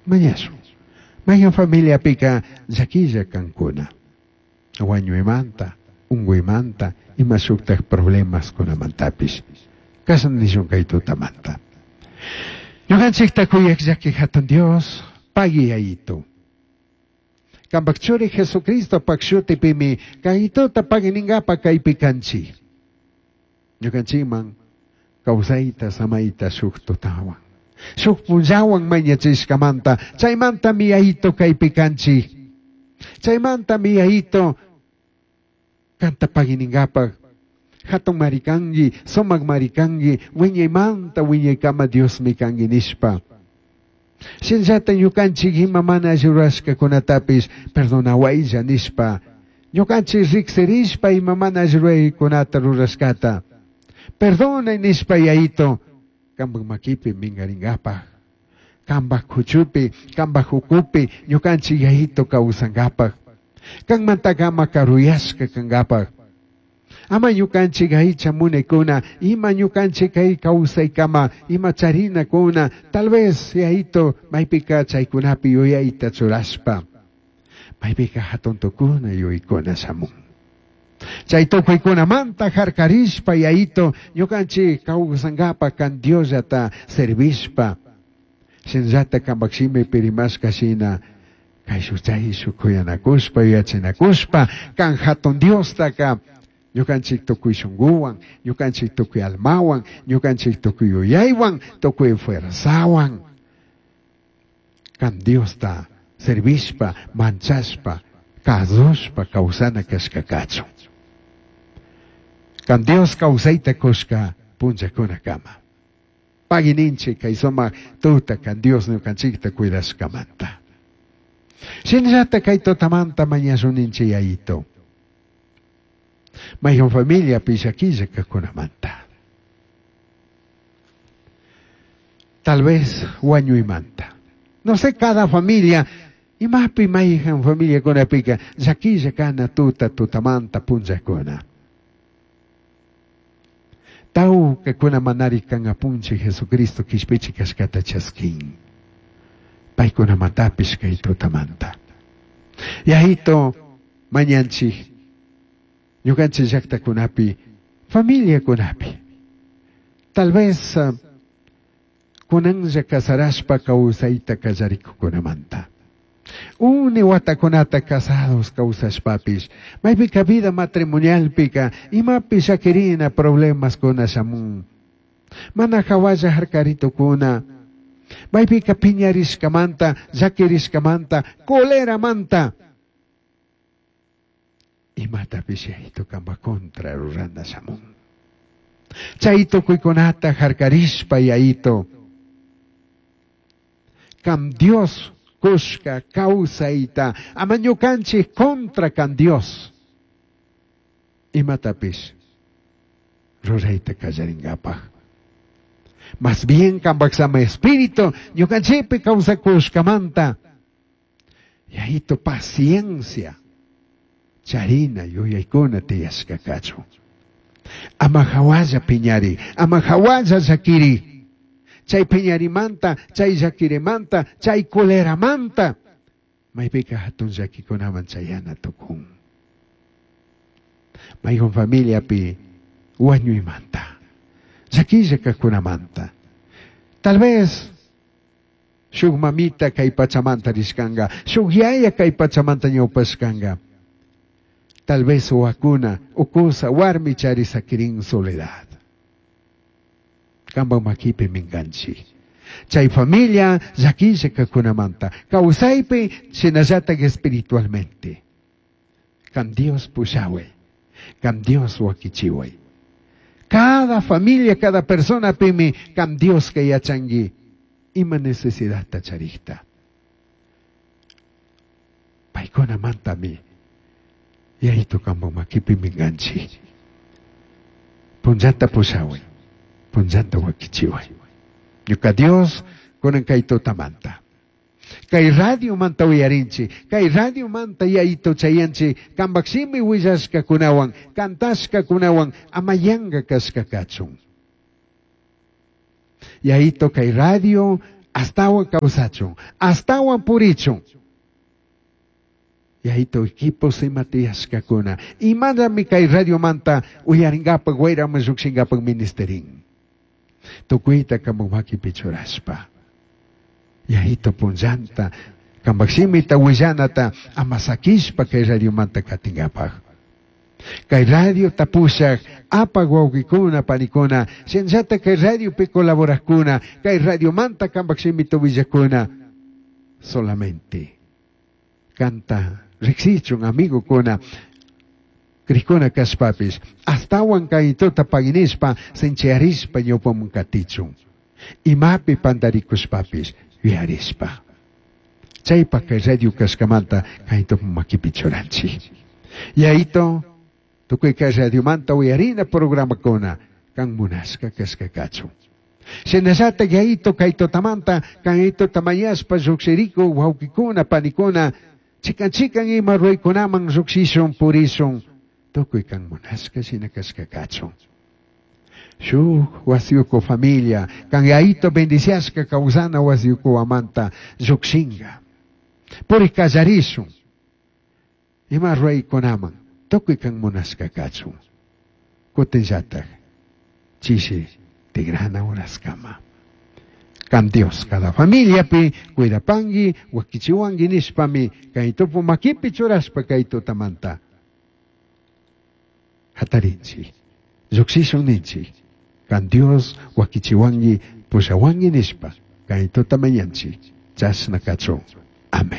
Mañashun. Mayhan familiapica llaquilla cancuna. Huañuimanta, ungüimanta, ima shujtaj problemascunamantapish. Cashna nishun kay tutamanta. Ñukanchikta kuyaj llaki hatun Dios, pagui Yayito. Kampak churi Jesucristopak shutipimi kay tuta pagui ningapa kaypi kanchik. Ñukanchikman kawsayta samayta shuk tutawan. Shuk punllawan mañachishkamanta, chaymantami Yayito kaypi kanchik. Chaymantami Yayito kanta pagui ningapaj hatun marikanki, sumak marikanki, wiñaymanta wiñaykama Diosmi kanki nishpa. Shinallata ñukanchik ima mana alli rurashkakunatapish perdonawaylla nishpa. Ñukanchik riksirishpa ima mana alli ruraykunata rurashkata. Perdonay nishpa Yayito, kampak makipi minkaringapaj. Kampak kuchupi, kampak ukupi, ñukanchik Yayito kawsankapaj. Kanmantaka ama karuyashka kankapaj. Ama ñukanchik aycha munaykuna, ima ñukanchik kay kawsaykama, ima charinakuna, tal vez Yayito maypika chaykunapi yuyayta churashpa, maypika hatun tukuna yuyaykuna shamun. Chay tukuykunamanta harkarishpa Yayito ñukanchik kawsankapa kan Diosllata servishpa, shinallata kampak shimipi rimashka shina, kayshu chayshu kuyanakushpa yuyachinakushpa kan hatun Diostaka ñukanchik tukuy shunkuwan, ñukanchik tukuy almawan, ñukanchik tukuy yuyaywan, tukuy fuerzawan kan Diosta servishpa, manchashpa, kazushpa kawsana kashka kachun. Kan Dios kawsayta kushka punllakunakama. Pagui ninchik kay sumak tuta kan Dios ñukanchikta cuidashkamanta. Shinallata kay tutamanta mañashun ninchik Yayito. Mayhan familiapi llaquilla kajkunamanta. Tal vez wañuymanta. No sé, cada familia, imapi mayhan familiakunapika llaquilla kana tuta tutamanta punllakuna. Tawkakuna manari kan apunchik Jesucristo kishpichik kashkata chaskin. Paykunamantapish kay tutamanta. Yayito mañanchik ñukanchik llaktakunapi, familiakunapi. Tal vez kunanlla casarashpa kawsayta kallarikukunamanta. Uni watakunata casados kawsashpapish, maypika vida matrimonialpika imapi llakirina problemaskuna shamun. Mana hawalla harkaritukuna, maypika piñarishkamanta, llakirishkamanta, coleramanta. Imatapish Yayito kanpa contra rurana shamun. Chay tukuykunata harkarishpa Yayito, kam Dios kushka kawsayta, ama ñukanchik contra kan Dios. Imatapish rurayta kallaringapaj. Más bien kampak sama espíritu ñukanchikpi kawsakushkamanta. Yayito paciencia charina yuyaykuna tiyashka kachun. Ama hawalla piñari, ama hawalla llakiri. Chay piñarimanta, chay llakirimanta, chay coleramanta. Maypika hatun llakikunaman chayana tukun. Mayhun familiapi wañuymanta, llakilla kajkunamanta. Tal vez shuk mamita kay pachamanta rishkanga, shuk yaya kay pachamanta ñawpashkanga. Tal vez wakuna, ukusa, warmi chari sakirin soledad. Kampak makipi minkanchik. Chay familia llakilla kajkunamanta, kawsaypi shinallatak espiritualmente. Kan Dios pushaway, kan Dios wakichiway. Cada familia, cada persona pimi, kan Dios que yachangi, ima necesidad charikta. Paykunamantami, Yayito kampak makipi minkanchik. Punllanta pushaway, punllanta wakichiway. Ñuka Dios kunan kay tutamanta. Kay radio manta uyarinchik, kay radio manta Yayito chayanchik, kampak shimi willashkakunawan, kantashkakunawan, ama yanka kashka kachun. Yayito kay radio Astawan kawsachun, astawan purichun. Yayito equipos ima tiyashkakuna. Imanami kay radiomanta uyarinkapak wayraman llukshinkapak ministerin. Tukuyta kanpak makipi churashpa. Yayito punllanta kanpak shimita willanata ama sakishpa kay radiomanta katinkapak. Kay radio tapushak apak wawqikuna panikuna shinallata kay radiopi colaborakuna kay radiomanta kanpak shimita willakuna solamente kanta riksichun amigokuna krikuna kashpapis astawan kaytuta paginishpa sinchiyarishpa ñawpaman katichun imapi pantarikushpapis yuyarishpa chaypak kay radio kashkamanta kaytupa makipi churanchik. Yayito tukuy kay radiomanta uyarina programakuna kan munashka kashka kachun. Shinallata yayito kay tutamanta kaytuta mañashpa llukshiriku wawqikuna panikuna chikan chikan ima ruraykunaman llukshishun purishun tukuy kan munashka shina kashka kachun. Shuk wasiyuku familia kan yayito bendiciashka kawsana wasiyukuwamanta llukshinka. Purik kallarishun ima ruraykunaman tukuy kan munashka kachun. Kutinllatak chishi tigrana uraskama. Kan Dios cada familiapi cuidapangi wakichiwangi nishpami kay tupu makipi churashpa kay tutamanta hatarinchik llukshishun ninchik kan Dios wakichiwangi pushawangi nishpa kay tutamañanchik chashna kachun. Amén.